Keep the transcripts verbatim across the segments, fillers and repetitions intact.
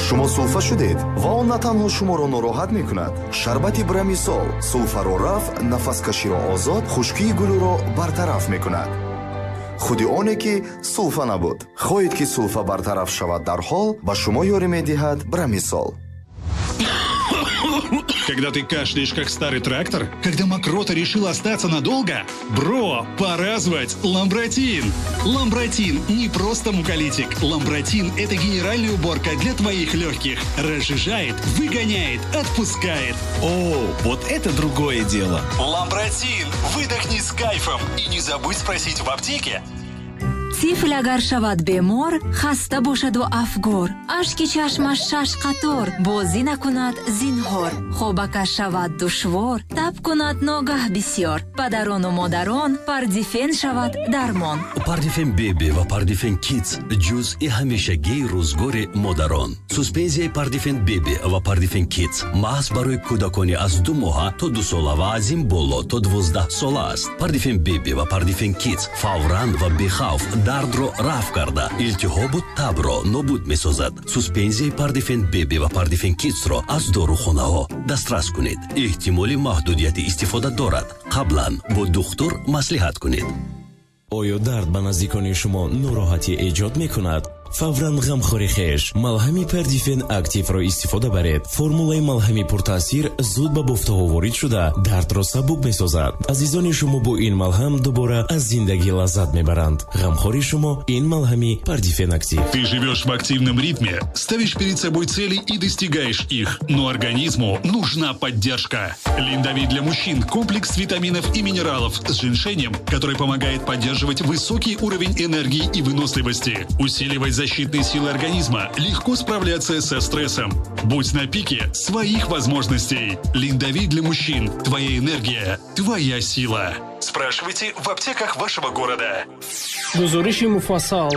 Шумо сулфа шудед ва он на танҳо шуморо нороҳат мекунад. Шарбати Брамисол сулфаро рафъ, нафаскаширо озод, хушкии гулӯро бартараф мекунад. Худи оне ки сулфа набуд. Хоҳед ки сулфа бартараф шавад дарҳол, ба шумо ёрӣ медиҳад Брамисол. Когда ты кашляешь, как старый трактор? Когда мокрота решила остаться надолго? Бро, пора звать Ламбратин! Ламбратин не просто муколитик. Ламбратин – это генеральная уборка для твоих легких. Разжижает, выгоняет, отпускает. О, вот это другое дело! Ламбратин! Выдохни с кайфом! И не забудь спросить в аптеке. Тифл агар шавад бемор, хаста бошаду афгор, ашки чашмаш шаш қатор, бозӣ накунад зинҳор, хобакаш шавад душвор, таб кунад ногаҳ бисьёр, падарону модарон, Пардифен шавад дармон. Пардифен Беби ва Пардифен Кидс — ҷузъи ҳамешагии рӯзгори модарон. Суспензияи Пардифен Беби ва Пардифен Кидс маҳз барои кӯдакони аз ду моҳа то дусола ва аз ин боло то дувоздаҳ сола аст. Пардифен Беби ва Пардифен Кидс фавран ва бехавф дардро рафъ карда, илтиҳобу табро нобуд месозад. Суспензияи Пардифен Беби ва Пардифен Кидсро аз дорухонаҳо дастрас кунед. Эҳтимоли маҳдудияти истифода дорад, қаблан бо духтур маслиҳат кунед. Оё дард ба наздикони шумо нороҳатӣ эҷод мекунад? Фавран ғамхори хеш малҳами Пердифен Активро истифода баред. Формулаи малҳами пуртаъсир зуд ба бофтаҳо ворид шуда, дардро сабук месозад. Азизони шумо бо ин малҳам дубора аз зиндагӣ лаззат мебаранд. Ғамхори шумо ин малҳами Пардифен Актив. Ты живешь в активном ритме, ставишь перед собой цели и достигаешь их, но организму нужна поддержка. Линдовит для мужчин – комплекс витаминов и минералов с женьшенем, который помогает поддерживать высокий уровень энергии и выносливости, усиливать защитные силы организма, легко справляться со стрессом. Будь на пике своих возможностей. Линдовит для мужчин. Твоя энергия, твоя сила. Спрашивайте в аптеках вашего города. Гузориши муфассал.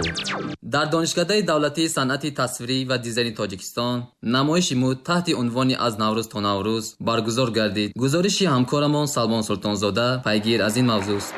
Дар Донишкадаи давлатии санъати тасвирӣ ва дизайни Тоҷикистон намоиши мӯд таҳти унвони «Аз Наврӯз то Наврӯз» баргузор гардид. Гузориши ҳамкорамон Салмон Султонзода пайгир аз ин мавзӯст.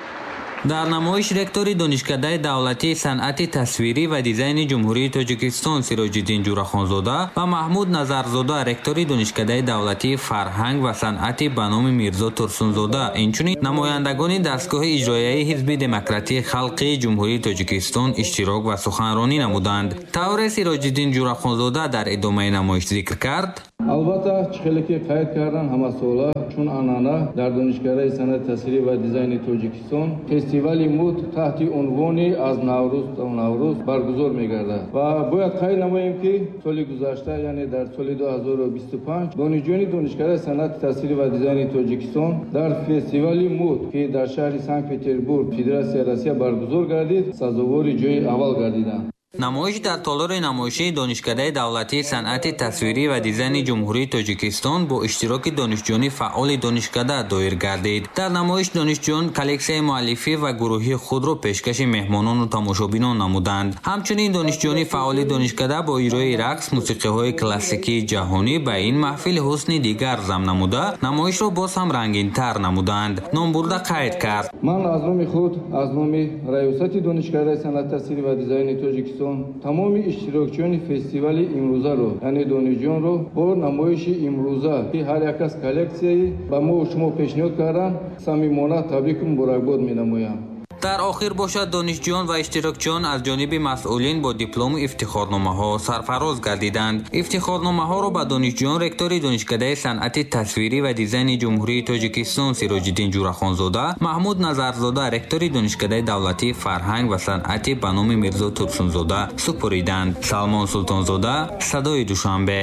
Дар намоиш ректори Донишкадаи давлатии санъати тасвирӣ ва дизайни Ҷумҳурии Тоҷикистон Сироҷиддин Ҷурахонзода ва Маҳмуд Назарзода, ректори Донишкадаи давлатии фарҳанг ва санъати ба номи Мирзо Турсунзода, инчунин намояндагони дастгоҳи иҷроияи Ҳизби демократии халқии Ҷумҳурии Тоҷикистон иштирок ва суханронӣ намуданд. Тавре Сироҷиддин Ҷурахонзода дар идомаи намоиш зикр кард: Албатта, чӣ хеле ки қайд кардан, ҳамасола чун анъана дар Донишкадаи санъати тасвирӣ ва дизайни Тоҷикистон фестивали мӯд таҳти унвони «Аз Наврӯз то Наврӯз» баргузор мегардад ва бояд қайд намоем, ки соли гузашта, яъне дар соли ду ҳазору бисту панҷ, донишҷӯёни Донишкадаи санъати тасвирӣ ва дизайни Тоҷикистон дар фестивали мӯд, ки дар шаҳри Санкт Петербург, Федератсияи Россия баргузор гардид, сазовори ҷои аввал гардиданд. Намоиш дар толори намоишии Донишкадаи давлатии санъати тасвирӣ ва дизайни Ҷумҳурии Тоҷикистон бо иштироки донишҷӯёни фаъоли донишкада доир гардид. Дар намоиш донишҷӯён коллексияи муаллифӣ ва гурӯҳии худро пешкаши меҳмонону тамошобинон намуданд. Ҳамчунин донишҷӯёни фаъоли донишкада бо иҷрои рақс, мусиқиҳои классикии ҷаҳонӣ ба ин маҳфил ҳусни дигар зам намуда, намоишро боз ҳам рангинтар намуданд. Номбурда қайд кард: Ман аз номи худ, аз номи раёсати Донишкадаи санъати тасвирӣ ва дизайни Тоҷикистон тамоми иштирокчиёни фестивали имрӯзаро, яъне донишҷӯёнро, бо намоиши имрӯза, ки ҳар як аз коллексияи ба мо шумо пешниҳод карданд, самимона табрику муборакбод менамоям. Дар охир бошад, донишҷӯён ва иштирокчиён аз ҷониби масъулин бо диплому ифтихорномаҳо сарфароз гардиданд. Ифтихорномаҳоро ба донишҷӯён ректори Донишкадаи санъати тасвирӣ ва дизайни Ҷумҳурии Тоҷикистон Сироҷиддин Ҷурахонзода, Маҳмуд Назарзода, ректори Донишкадаи давлатии фарҳанг ва санъати ба номи Мирзо Турсунзода супориданд. Салмон Султонзода, Садои Душанбе.